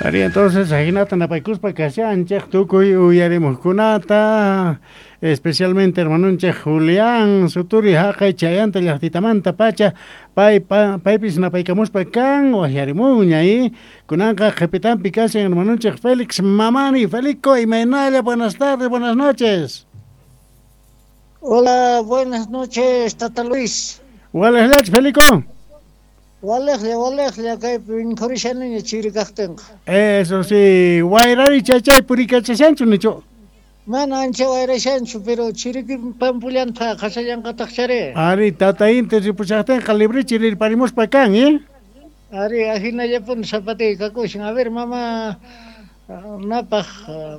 Ari, entonces ajinata napaykuspa kashanchej tukuy uyarimuqkunata, especialmente hermanonchej Julián Suturi haqay chayanta llaqtitamanta pacha, pay paypis napaykamuspa kan wajyarimunña y kunanqa qhipitanpi kashan hermanonchej Félix Mamani. Felico, imaynalla, buenas tardes, buenas noches. Hola, buenas noches, Tata Luis. Walejllach, Felico. Walejlla, walejlla, kaypi mikhurishaniña chiri kajtinqa. Eso sí, wayrari chaychay purikachashanchu nichu. Mana ancha wayrashanchu, pero chiriki pampullanta qhasallanqataqchari. Ari, tata inti ripushaqtinqa librichi rirparimuspa kan, ¿eh? Ari, ajinallapuni zapatilla kakushan. A ver, mama napaj,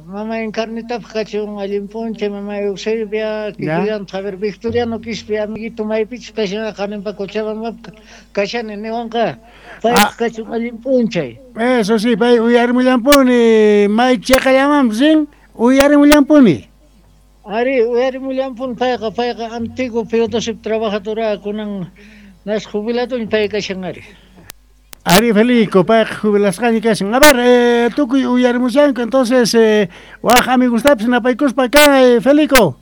mama Encarnitapaj kachun allin p'unchay, mama Eusebia, kikillantaq, a ver, Victoriano Quispe, amiguito maypichus kashan, qaninpa Cochabambapi kashani niwanqa, paypaj kachun allin p'unchay. Eso sí, pay uyarimullampuni, may cheqallamanpis rin, uyarimullampuni. Ari, uyarimullampuni payqa, payqa antiguo P2 trabajadora kunan nas jubiladoña pay kashan ari. Ari Felico, payqa jubilasqaña kashan. A ver, tukuy uyarimushanku, entonces waj amigostapis napaykuspa kan, Felico.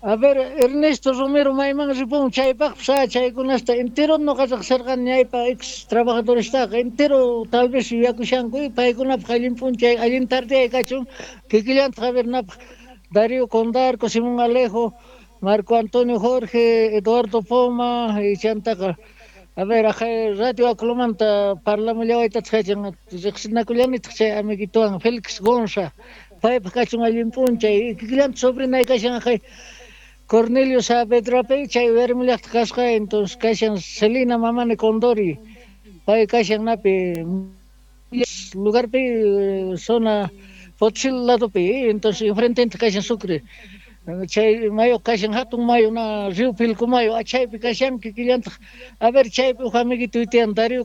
A ver, Ernesto Romero mayman ripun chaypaqpis chaykunasta entero noqa riqsirqani ñaypa ex trabajadorestaqa entero tal vez yuyakushanku paykunapaq allin p'unchay allin tardeyay kachun kikillantaq a ver napaq Darío Condarco, Simón Alejo, Marco Antonio Jorge, Eduardo Poma y chantaqa a ver, ajay Radio Aclomanta parlamullawaytataq kachan riqsinakullanitaq chay amiguituwan Félix Gonza paypaq kachun allin p'unchay kikillantaq sobrinay kashan ajay Cornelio Saavedrapi chay uyarimullaqtaq kasqa entonces kashan Celina Mamani Condori pay kashan napi lugarpi zona Potosí ladopi entonces enfrente kashan Sucre chay mayu kashan hatun mayu na Río Pilcomayo chaypi kashan kikillantaq a ver chaypi uj amiguito tiyan Darío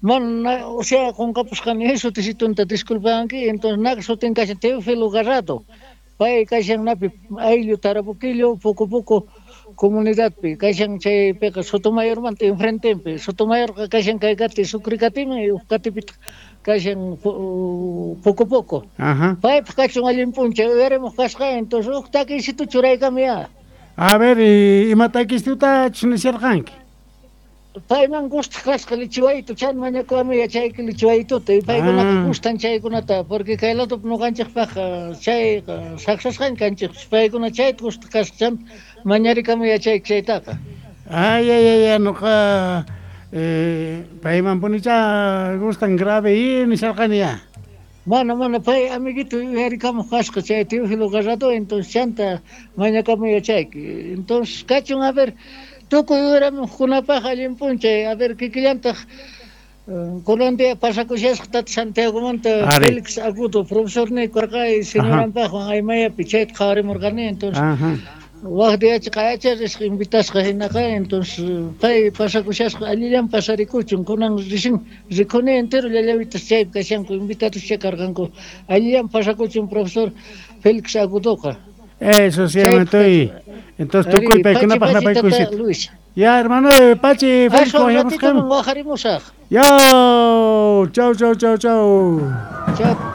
mana o sea qunqapusqani sutisitunta disculpanki entonces nak sutin kashan Teófilo Garrado pay kashan napi ayllu Tarabuquillo poco poco comunidadpi kashan chaypiqa Sotomayormanta enfrentenpi Sotomayorqa kashan kay kati Sucre katiman uj katipitaq kashan poco poco. Paypaq kachun allin p'unchay uyarimuq kasqa entonces uj takiysitu churaykamuya. A ver, ima takiysitutachus nisharqanki? Payman gustaq kasqa lichiwaytu chan mañakuwami yachayki lichiwaytuta y paykunaqa gustan chaykunata porque kay ladopi ñuqanchikpaq chayqa saksasqaña kanchik paykuna chayta gustaq kasqa chan mañarikamu yachayki chaytaqa. Ay, ay, ay, ay, noqa paymanpunicha gustan grave y nisharqani ya. Mana, mana, pay amiguito uyarikamuq kasqa chay Teófilo Garrado, entonces chanta mañakamu yachayki. Entonces kachun, a ver, tukuy uyarimuqkunapaq allin p'unchay, a ver, kikillantaq kunan día pasakushasqa tata Santiagomanta Félix Agudo, profesorniy karqa y señoranpaqwan Aymayapi chayta qhawarimurqani, entonces waj diachi qayacha risqa invitasqa hinaqa, entonces pay pasakushasqa allillan pasarikuchun, kunan recién rikuni entero llallawitas chaypi kashanku invitados chay karqanku, allillan pasakuchun profesor Félix Agudoqa. Eso sí, estoy. Entonces tukuy paykunapaq napaykuysita. Luis. Ya, hermano, Pachi, Félix, wajarimusaq. Ya, chau, chau, chau, chau. Chau.